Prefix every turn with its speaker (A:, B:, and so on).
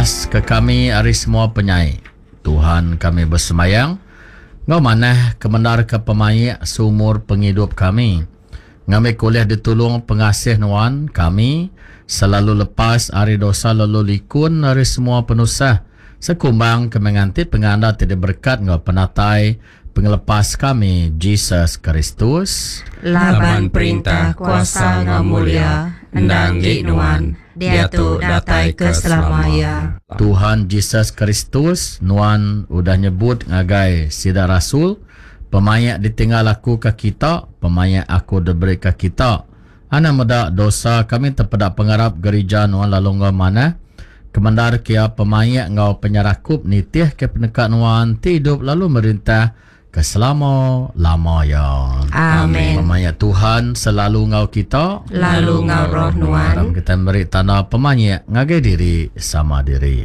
A: Lepas ke kami ari semua penyai. Tuhan kami besembayang, enggau manah kemendar ke pemaik seumur pengidup kami. Ngambika ulih ditulung pengasih Nuan, kami selalu lepas ari dosa lalu likun ari semua penusah, sekumbang kami nganti pengandal ti diberekat enggau penatai Pengelepas kami, Jesus Kristus.
B: Laban perintah, kuasa enggau mulia endang enggi Nuan, diatu datai ke selama iya.
A: Tuhan Jesus Kristus, Nuan udah nyebut ngagai sida rasul, Pemaik ditinggal Aku ke kita, pemaik Aku diberi ke kita. Anang meda dosa kami tepeda pengarap gerija Nuan lalu enggau manah kemendar ke iya pemaik enggau penyerakup nitih ke peneka Nuan ti idup lalu merintah ke selama lama iya.
B: Amen.
A: Pemaik Tuhan selalu enggau kita.
B: Lalu enggau roh nuan.
A: Aram kita meri tanda pemaik ngagai diri sama diri.